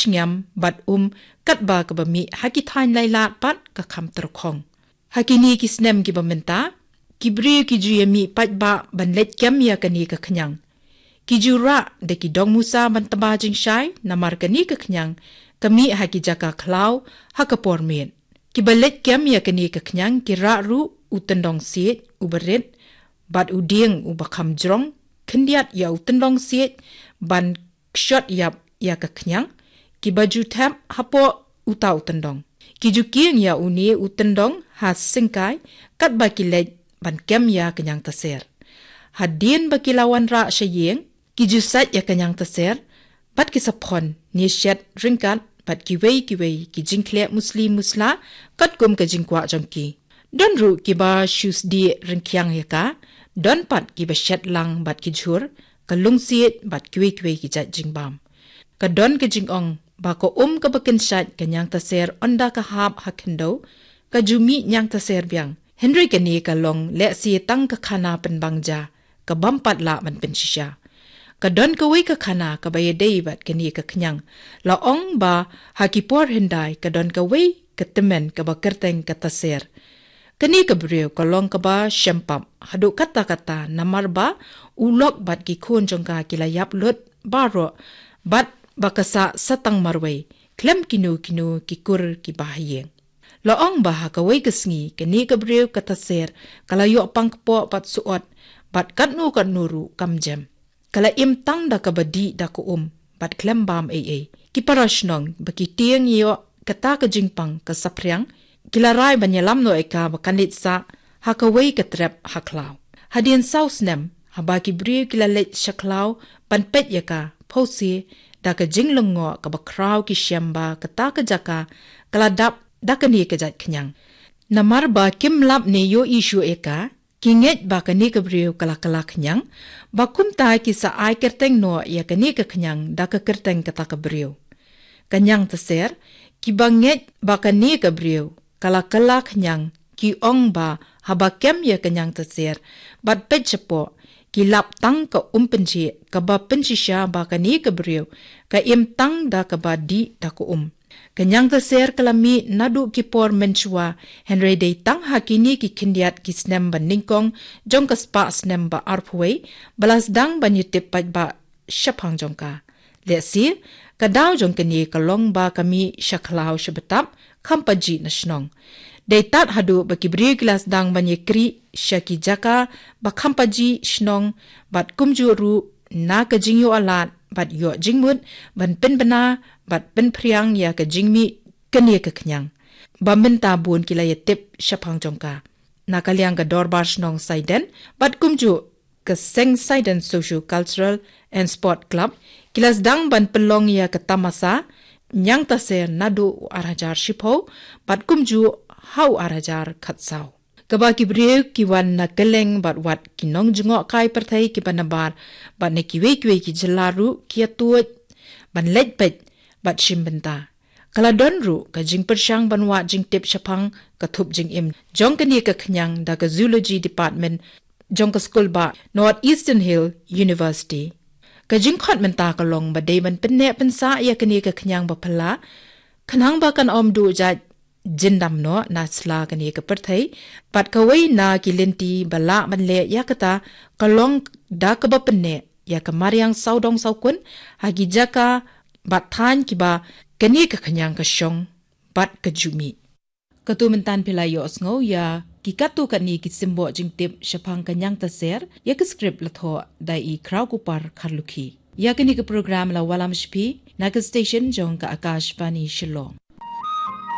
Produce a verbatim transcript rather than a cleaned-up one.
shngiam bad um katba kaba mih ha ki thaiñ Lailad pat ka kham tyrkhong. Ha kine ki snem kiba mynta, ki briew ki ju ïa mih paidbah ban leit kem ïa kane ka khñiang. Ki ju rah da ki dong musa ban tba jingshai namar kane ka khñiang ka mih ha ki jaka khlaw ha ka por miet. Kiba leit kem ïa kane ka khñiang ki rah ruh u tyndong siej uba rit bad u dieng uba kham jrong, khyndiat ïa u tyndong siej ban kshot ïap ïa ka khñiang, kiba ju thep hapoh uta u tyndong. Ki ju kieng ïa une u tyndong ha syngkai katba ki leit ban kem ïa ka ñiangtaser. Hadien ba ki la wanrah sha ïing, ki ju sait ïa ka ñiangtaser bad ki sa phon ne shet ryngkat bad kiwei kiwei ki jingkhleh musli musla katkum ka jingkwah jong ki. Don ruh kiba shu sdieh ryngkhiang ïa ka, don pat kiba shet lang bad ki jhur, ka lungsiej bad kiwei kiwei ki jait jingbam. Ka don ka jingong ba ka um kaba kynshait ka ñiangtaser ynda ka hap ha khyndew, ka ju mih ñiangtaser biang. Hynrei kane ka long lehse tang ka khana pynbang ja, ka bym pat lah ban pynshisha. Ka don kawei ka khana kaba ïadei bad kane ka khñiang. La ong ba ha ki por hyndai ka don kawei ka tymmen kaba kyrteng ka taser. Kane ka briew ka long kaba shem pap haduh katta katta namar ba u lok bad ki khun jong ka ki la ïap lut baroh bad ba ka sah sa tang marwei khlem kino kino ki kur kiba ha ïing. La ong ba ha kawei ka sngi kane ka briew ka taser ka la ïoh pang kpoh bad suot bad katno katno ruh kam jem. Ka la im tang da kaba dih da ka um bad khlem bam ei ei. Ki para shnong ba ki tieng ïoh kata ka jingpang ka saphriang, ki la rai ban ïalam noh ïa ka ba kan leit sah ha kawei ka trep ha khlaw. Hadien saw snem, haba ki briew ki la leit sha khlaw ban peit ïa ka, phewse da ka jinglyngngoh kaba khraw ki shem ba kata ka jaka ka la dap da kane ka jait khñiang. Namar ba kim lap ne ïohi shuh ïa ka, ki ngeit ba kane ka briew ka la kylla khñiang, ba kumta ki sa ai kyrteng noh ïa kane ka khñiang da ka kyrteng kata ka briew. Ka ñiangtaser, kiba ngeit ba kane ka briew ka la kylla khñiang, ki ong ba haba kem ïa ka ñiangtaser bad peit shapoh, ki lap tang ka um pynjhieh kaba pynshisha ba kane ka briew ka im tang da kaba dih da ka um. Ka ñiangtaser ka la mih naduh ki por mynshuwa, hynrei dei tang ha kine ki khyndiat ki snem ba nyngkong jong ka spah snem ba arphew wei ba la sdang ban ïatip paidbah shaphang jong ka. Lehse ka daw jong kane ka long ba ka mih sha khlaw sha btap, kham pajih na shnong. Dei tad haduh ba ki briew ki la sdang ban ïakrieh sha ki jaka ba kham pajih shnong bad kumjuh ruh na ka jingïoh alad bad ïoh jingmut ban pynbna bad pynphriang ïa ka jingmih kane ka khñiang, ba mynta bun ki la ïatip shaphang jong ka. Na ka liang ka Dorbar Shnong Saiden bad kumjuh ka Seng Saiden Socio Cultural and Sport Club ki la sdang ban pynlong ïa ka tamasa ñiangtaser naduh u ar hajar shiphew bad kumjuh ha u ar hajar khatsaw. Kaba ki briew ki wan na kylleng bad wat ki nongjngohkai pyrthei kiba nabar bad na kiwei kiwei ki jylla ruh ki ïatuid ban leit peit bad shim bynta. Ka la don ruh ka jingpyrshang ban wad jingtip shaphang ka thup jingim jong kane ka khñiang da ka Zoology Department jong ka skul ba North Eastern Hill University. Ka jingkhot mynta ka long ba dei ban pynneh pynsah ïa kane ka khñiang ba phylla, khnang ba kan ym duh jait jyndam noh na sla kane ka pyrthei, bad kawei na ki lynti ba lah ban leh ïa kata ka long da kaba pynneh ïa ka mariang sawdong sawkun ha ki jaka bad thaiñ kiba kane ka khñiang ka shong bad ka ju mih. Katto mynta phi la ïohsngew ïa ki katto katne ki symboh jingtip shaphang ka ñiangtaser, ïa ka script la thoh da i Khrawkupar Kharlukhi. Ïa kane ka program la wallam sha phi na ka station jong ka Akashvani Shillong.